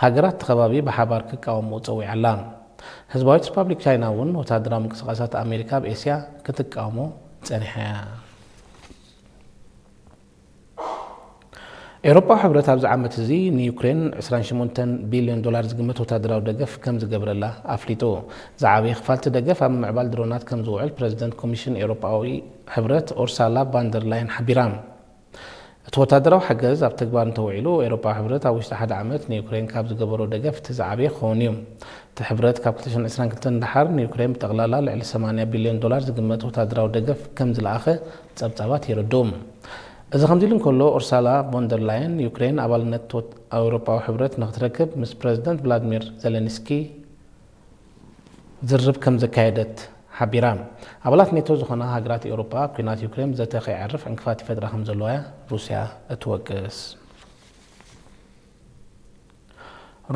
ሃገራት እቲ ከባቢ ብሓባር ክቃወምኡ ጸዊዓ ኣላ። ህዝባዊት ሪፓብሊክ ቻይና እውን ወተሃደራዊ ምንቅስቓሳት ኣሜሪካ ኣብ ኤስያ ክትቃወሞ ጸኒሓ እያ። ኤውሮጳዊ ሕብረት ኣብዚ ዓመት እዚ ንዩክሬን ዕስራን ሸሞንተን ቢልዮን ዶላር ዝግመት ወተሃደራዊ ደገፍ ከም ዝገብረላ ኣፍሊጡ። ዝዓበየ ክፋል እቲ ደገፍ ኣብ ምምዕባል ድሮናት ከም ዝውዕል ፕረዚደንት ኮሚሽን ኤውሮጳዊ ሕብረት ኡርሳላ ቫንደር ላየን ሓቢራ። እቲ ወታደራዊ ሓገዝ ኣብ ተግባር እንተውዒሉ፣ ኤውሮጳዊ ሕብረት ኣብ ውሽጢ ሓደ ዓመት ንዩክሬን ካብ ዝገበሮ ደገፍ እቲ ዝዓበየ ክኸውን እዩ። እቲ ሕብረት ካብ ክልተ ሽሕን ዕስራን ክልተን ንደሓር ንዩክሬን ብጠቕላላ ልዕሊ ሰማንያ ቢልዮን ዶላር ዝግመት ወታደራዊ ደገፍ ከም ዝለኣኸ ጸብጻባት የረድኡ። እዚ ከምዚ ኢሉ እንከሎ፣ ኡርሳላ ቮንደር ላየን ዩክሬን ኣባልነት ወት-፣ ኣውሮጳዊ ሕብረት ንክትረክብ ምስ ፕረዚደንት ቭላድሚር ዜሌንስኪ ዝርርብ ከም ዘካየደት ሓቢራ። ኣባላት ኔቶ ዝኾና ሃገራት ኤውሮጳ፣ ኣብ ኲናት ዩክሬን ዘተ ከይዓርፍ ዕንቅፋት ይፈጥራ ከም ዘለዋ እያ ሩስያ እትወቅስ።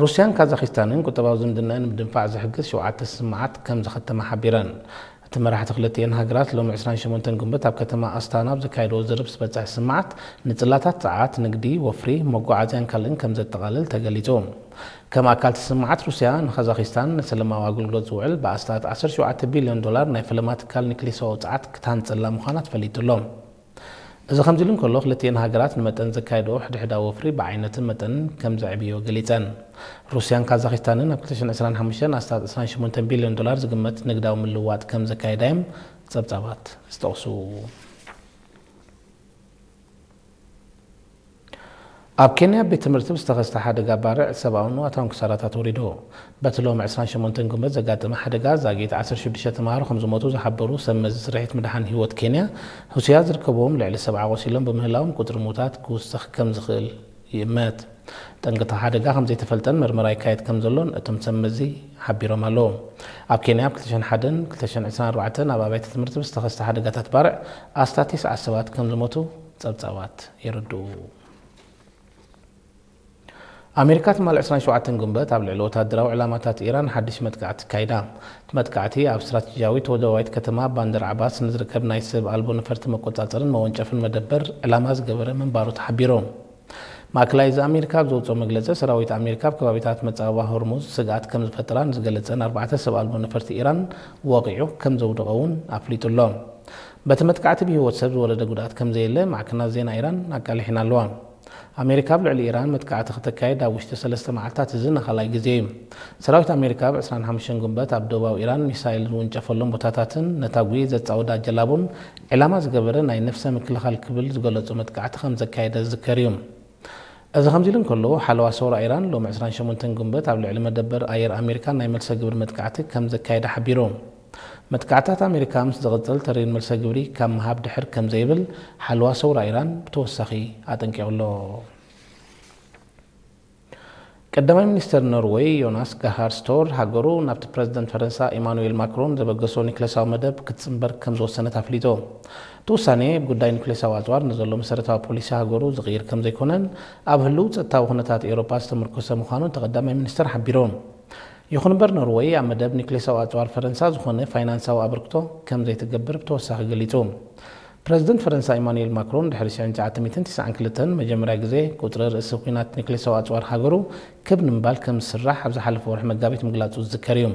ሩስያን ካዛኺስታንን ቁጠባዊ ዝምድናኣን ንምድንፋዕ ዝሕግዝ ሸውዓተ ስምምዓት ከም ዘኸተማ ሓቢረን። እቲ መራሕቲ ክልቲኤን ሃገራት ሎሚ ዕስራን ሸሞንተን ግንቦት ኣብ ከተማ ኣስታና ኣብ ዘካየድዎ ዝርርብ ዝበጽሐ ስምምዓት፣ ንጽላታት ጸዓት፣ ንግዲ፣ ወፍሪ፣ መጓዓዝያን ካልእን ከም ዘጠቓልል ተገሊጹ። ከም ኣካል እቲ ስምምዓት፣ ሩስያ ንካዛኺስታን ንሰላማዊ ኣገልግሎት ዝውዕል ብኣስታት ዓሰርተ ሸውዓተ ቢልዮን ዶላር ናይ ፈለማ ትካል ኒክሌሳዊ ጸዓት ክትሃንጸላ ምዃና ተፈሊጡ ኣሎ። እዚ ከምዚ ኢሉ እንከሎ፣ ክልቲኤን ሃገራት ንመጠን ዘካየድኦ ሕድሕዳዊ ወፍሪ ብዓይነትን መጠንን ከም ዘዕብዮ ገሊጸን። ሩስያን ካዛኺስታንን ኣብ ክልተ ሽሕን ዕስራን ሓሙሽተን ኣስታት ዕስራን ሸሞንተን ቢልዮን ዶላር ዝግመት ንግዳዊ ምልውዋጥ ከም ዘካየዳ እዮም ጸብጻባት ዝጠቕሱ። ኣብ ኬንያ ቤት ትምህርቲ ብዝተኸስተ ሓደጋ ባርዕ ሰብኣውን ንዋታውን ክሳራታት ወሪዱ። በቲ ሎሚ ዕስራን ሸሞንተን ግንቦት ዘጋጠመ ሓደጋ ዛጊት ዓሰርተ ሽዱሽተ ተምሃሮ ከም ዝሞቱ ዝሓበሩ ሰብ መዚ ስርሒት ምድሓን ህይወት ኬንያ፣ ሩስያ ዝርከብዎም ልዕሊ ሰብዓ ቆሲሎም ብምህላዎም ቁጽሪ ሙታት ክውስኽ ከም ዝኽእል ይእመት። ጠንቂ እቲ ሓደጋ ከም ዘይተፈልጠን መርመራ ይካየድ ከም ዘሎን እቶም ሰብ መዚ ሓቢሮም ኣለዉ። ኣብ ኬንያ ኣብ ክልተ ሽሕን ሓደን ክልተ ሽሕን ዕስራን ኣርባዕተን ኣብ ኣብያተ ትምህርቲ ብዝተኸስተ ሓደጋታት ባርዕ ኣስታት ተስዓ ሰባት ከም ዝሞቱ ጸብጻባት የረድኡ። ኣሜሪካ ትማሊ ዕስራን ሸውዓተን ግንቦት ኣብ ልዕሊ ወታደራዊ ዕላማታት ኢራን ሓድሽ መጥቃዕቲ ኣካይዳ። እቲ መጥቃዕቲ ኣብ ስትራቴጂያዊት ወደባዊት ከተማ ባንደር ዓባስ ንዝርከብ ናይ ሰብ ኣልቦ ነፈርቲ መቆጻጸርን መወንጨፍን መደበር ዕላማ ዝገበረ ምንባሩ ተሓቢሩ። ማእከላይ እዚ ኣሜሪካ ኣብ ዘውጽኦ መግለጺ፣ ሰራዊት ኣሜሪካ ኣብ ከባቢታት መጻብባ ሆርሙዝ ስግኣት ከም ዝፈጠራ ንዝገለጸን ኣርባዕተ ሰብ ኣልቦ ነፈርቲ ኢራን ወቒዑ ከም ዘውደቐ እውን ኣፍሊጡ ኣሎ። በቲ መጥቃዕቲ ብህይወት ሰብ ዝወረደ ጉድኣት ከም ዘየለ ማዕከናት ዜና ኢራን ኣቃሊሐን ኣለዋ። ኣሜሪካ ኣብ ልዕሊ ኢራን መጥቃዕቲ ክተካይድ ኣብ ውሽጢ ሰለስተ መዓልታት እዚ ንኻልኣይ ግዜ እዩ። ሰራዊት ኣሜሪካ ኣብ ዕስራን ሓሙሽተን ግንቦት ኣብ ደቡባዊ ኢራን ሚሳይል ዝውንጨፈሎም ቦታታትን ነታ ጉሂ ዘጻወዳ ጀላቡን ዕላማ ዝገበረ ናይ ነፍሰ ምክልኻል ክብል ዝገለጾ መጥቃዕቲ ከም ዘካየደ ዝዝከር እዩ። እዚ ከምዚ ኢሉ እንከሎ፣ ሓለዋ ሰውራ ኢራን ሎሚ ዕስራን ሸሞንተን ግንቦት ኣብ ልዕሊ መደበር ኣየር ኣሜሪካ ናይ መልሰ ግብሪ መጥቃዕቲ ከም ዘካየደ ሓቢሩ። መጥቃዕታት ኣሜሪካ ምስ ዝቕጽል፣ ተሪር መልሰ ግብሪ ካብ ምሃብ ድሕር ከም ዘይብል ሓለዋ ሰውራ ኢራን ብተወሳኺ ኣጠንቂቑ ኣሎ። ቀዳማይ ሚኒስተር ኖርወይ ዮናስ ጋሃር ስቶር ሃገሩ ናብቲ ፕረዚደንት ፈረንሳ ኢማኑኤል ማክሮን ዘበገሶ ኒክለሳዊ መደብ ክትጽንበር ከም ዝወሰነት ኣፍሊጡ። እቲ ውሳኔ፣ ኣብ ጉዳይ ኒክለሳዊ ኣጽዋር ንዘሎ መሰረታዊ ፖሊሲ ሃገሩ ዝቕይር ከም ዘይኮነን፣ ኣብ ህልው ጸጥታዊ ኩነታት ኤውሮጳ ዝተመርኮሰ ምዃኑ እቲ ቀዳማይ ሚኒስተር ሓቢሩ። ይኹን እምበር፣ ኖርወይ ኣብ መደብ ኒክሌሳዊ ኣጽዋር ፈረንሳ ዝኾነ ፋይናንሳዊ ኣበርክቶ ከም ዘይትገብር ብተወሳኺ ገሊጹ። ፕረዚደንት ፈረንሳ ኢማኑኤል ማክሮን ድሕሪ ሽሕን ትሽዓተ ሚእትን ትስዓን ክልተን መጀመርያ ግዜ ቁጽሪ ርእሲ ኲናት ኒክሌሳዊ ኣጽዋር ሃገሩ ክብ ንምባል ከም ዝስራሕ ኣብ ዝሓለፈ ወርሒ መጋቢት ምግላጹ ዝዝከር እዩ።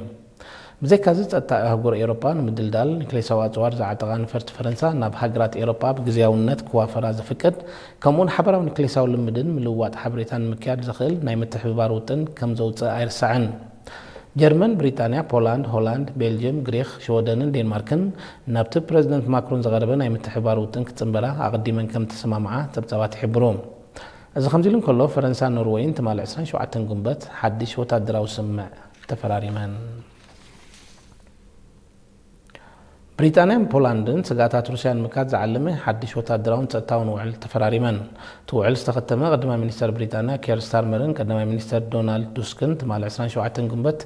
ብዘይካዚ፣ ጸጥታ ኣህጉር ኤውሮጳ ንምድልዳል ኒክሌሳዊ ኣጽዋር ዝዓጠቓ ነፈርቲ ፈረንሳ ናብ ሃገራት ኤውሮጳ ብግዝያውነት ክዋፈራ ዝፍቅድ፣ ከምኡውን ሓበራዊ ኒክሌሳዊ ልምድን ምልውዋጥ ሓበሬታን ንምክያድ ዘኽእል ናይ ምትሕብባር ውጥን ከም ዘውጽእ ኣይርሳዕን። ጀርመን፣ ብሪጣንያ፣ ፖላንድ፣ ሆላንድ፣ ቤልጅየም፣ ግሪኽ፣ ሽወደንን ዴንማርክን ናብቲ ፕረዚደንት ማክሮን ዝቐረበ ናይ ምትሕብባር ውጥን ክጽንበራ ኣቐዲመን ከም ዝተሰማምዓ ጸብጻባት ይሕብሩ። እዚ ከምዚ ኢሉ እንከሎ፣ ፈረንሳን ኖርወይን ትማሊ ዕስራን ሸውዓተን ግንቦት ሓድሽ ወታደራዊ ስምምዕ ተፈራሪመን። ብሪጣንያን ፖላንድን ስግኣታት ሩስያ ንምክያድ ዝዓለመ ሓድሽ ወታደራውን ጸጥታውን ውዕል ተፈራሪመን። እቲ ውዕል ዝተኸተመ ቀዳማይ ሚኒስተር ብሪጣንያ ኬር ስታርመርን ቀዳማይ ሚኒስተር ዶናልድ ቱስክን ትማሊ ዕስራን ሸውዓተን ግንቦት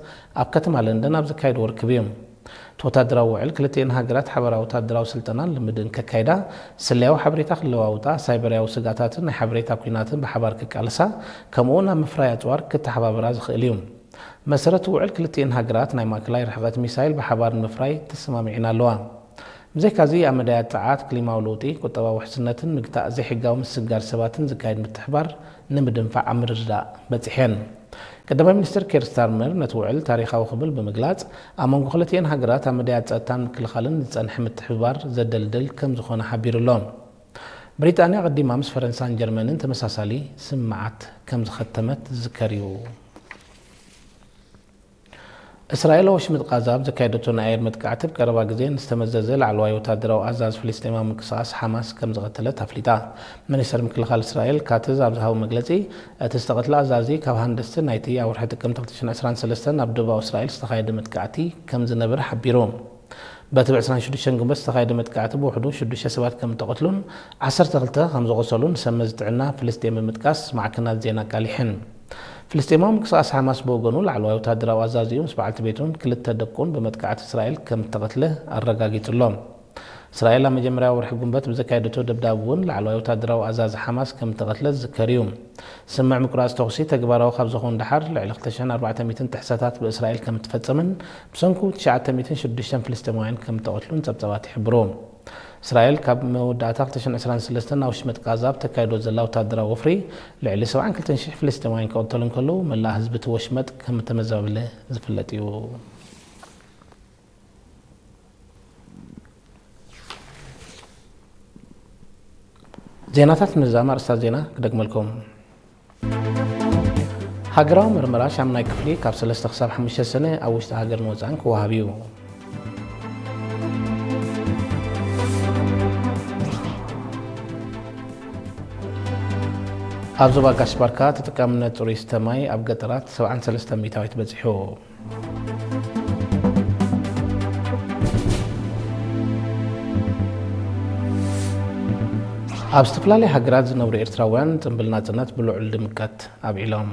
ኣብ ከተማ ለንደን ኣብ ዘካየድዎ ርክብ እዩ። እቲ ወታደራዊ ውዕል ክልቲኤን ሃገራት ሓበራዊ ወታደራዊ ስልጠናን ልምድን ከካይዳ፣ ስለያዊ ሓበሬታ ክለዋውጣ፣ ሳይበርያዊ ስግኣታትን ናይ ሓበሬታ ኲናትን ብሓባር ክቃለሳ፣ ከምኡውን ኣብ ምፍራይ ኣጽዋር ክተሓባበራ ዝኽእል እዩ። መሰረት ውዕል ክልቲኤን ሃገራት ናይ ማእከላይ ርሕቐት ሚሳይል ብሓባር ንምፍራይ ተሰማሚዐን ኣለዋ። ብዘይካዚ ኣብ መዳያት ጸዓት፣ ክሊማዊ ለውጢ፣ ቁጠባዊ ውሕስነትን ምግታእ ዘይሕጋዊ ምስግጋር ሰባትን ዝካየድ ምትሕባር ንምድንፋዕ ኣብ ምርድዳእ በጺሐን። ቀዳማይ ሚኒስትር ኬር ስታርመር ነቲ ውዕል ታሪኻዊ ክብል ብምግላጽ፣ ኣብ መንጎ ክልቲኤን ሃገራት ኣብ መዳያት ጸጥታን ምክልኻልን ዝጸንሐ ምትሕብባር ዘደልድል ከም ዝኾነ ሓቢሩ ኣሎ። ብሪጣንያ ቀዲማ ምስ ፈረንሳን ጀርመንን ተመሳሳሊ ስምምዓት ከም ዝኸተመት ዝዝከር እዩ። እስራኤል ኣብ ወሽመጥ ቃዛ ኣብ ዘካየደቶ ናይ ኣየር መጥቃዕቲ፣ ኣብ ቀረባ ግዜ ንዝተመዘዘ ላዕለዋይ ወታደራዊ ኣዛዚ ፍልስጤማዊ ምንቅስቓስ ሓማስ ከም ዝቐተለት ኣፍሊጣ። ሚኒስተር ምክልኻል እስራኤል ካትዝ ኣብ ዝሃቦ መግለጺ፣ እቲ ዝተቐትለ ኣዛዚ ካብ ሃንደስቲ ናይቲ ኣብ ወርሒ ጥቅምቲ ክልተ ሽሕን ዕስራን ሰለስተን ኣብ ደቡባዊ እስራኤል ዝተኻየደ መጥቃዕቲ ከም ዝነበረ ሓቢሩ። በቲ ብ ዕስራን ሽዱሽተን ግንቦት ዝተኻየደ መጥቃዕቲ ብውሕዱ ሽዱሽተ ሰባት ከም እተቐትሉን ዓሰርተ ክልተ ከም ዝቖሰሉን ሰመዚ ጥዕና ፍልስጤም ብምጥቃስ ማዕከናት ዜና ኣቃሊሐን። ፍልስጤማዊ ምንቅስቓስ ሓማስ ብወገኑ፣ ላዕለዋይ ወታደራዊ ኣዛዚኡ ምስ በዓልቲ ቤቱን ክልተ ደቁን ብመጥቃዕቲ እስራኤል ከም እተቐትለ ኣረጋጊጹ ኣሎ። እስራኤል ኣብ መጀመርያ ወርሒ ግንቦት ብዘካየደቶ ደብዳብ እውን ላዕለዋይ ወታደራዊ ኣዛዚ ሓማስ ከም እተቐትለ ዝዝከር እዩ። ስምምዕ ምቁራጽ ተኹሲ ተግባራዊ ካብ ዝኾን ደሓር፣ ልዕሊ ክልተ ሽሕን ኣርባዕተ ሚእትን ጥሕሰታት ብእስራኤል ከም እተፈጸመን ብሰንኩ ትሽዓተ ሚእትን ሽዱሽተን ፍልስጤማውያን ከም እተቐትሉን ጸብጻባት ይሕብሩ። እስራኤል ካብ መወዳእታ ክልተ ሽሕን ዕስራን ሰለስተን ኣብ ወሽመጥ ቃዛ ኣብ ተካይዶ ዘላ ወታደራዊ ወፍሪ፣ ልዕሊ ሰብዓን ክልተን ሽሕ ፍልስጤማውያን ክቕተሉ እንከለዉ፣ መላእ ህዝቢ እቲ ወሽመጥ ከም እተመዛበለ ዝፍለጥ እዩ። ዜናታት ነዛ ኣርእስታት ዜና ክደግመልኩም። ሃገራዊ ምርመራ ሻምናይ ክፍሊ ካብ ሰለስተ ክሳብ ሓሙሽተ ሰነ ኣብ ውሽጢ ሃገርን ወጻእን ክወሃብ እዩ። ኣብ ዞባ ጋሽ ባርካ ተጠቃምነት ጽሩይ ዝስተ ማይ ኣብ ገጠራት ሰብዓን ሰለስተን ሚእታዊት በጺሑ። ኣብ ዝተፈላለያ ሃገራት ዝነብሩ ኤርትራውያን ጽምብል ናጽነት ብልዑል ድምቀት ኣብዒሎም።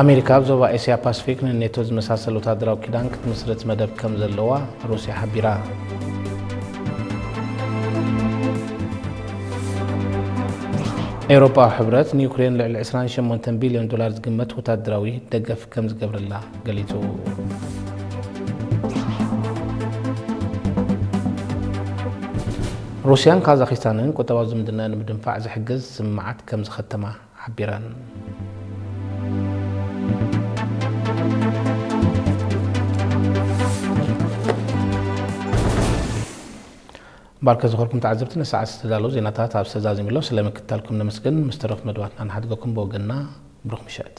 ኣሜሪካ ኣብ ዞባ ኤስያ ፓሲፊክ ንኔቶ ዝመሳሰል ወታደራዊ ኪዳን ክትምስርት መደብ ከም ዘለዋ ሩስያ ሓቢራ። ኤውሮጳዊ ሕብረት ንዩክሬን ልዕሊ ዕስራን ሸሞንተን ቢልዮን ዶላር ዝግመት ወታደራዊ ደገፍ ከም ዝገብረላ ገሊጹ። ሩስያን ካዛኺስታንን ቁጠባዊ ዝምድና ንምድንፋዕ ዝሕግዝ ስምምዓት ከም ዝኸተማ ሓቢረን። ባርከ ዝኾርኩም ተዓዘብቲ፣ ንሰዓት ዝተዳለዉ ዜናታት ኣብ ዝተዛዚሙሎ ስለ ምክትታልኩም ነመስግን። ምስ ተረፉ መደባትና ንሓድገኩም ብወገንና ብሩኽ ምሸት።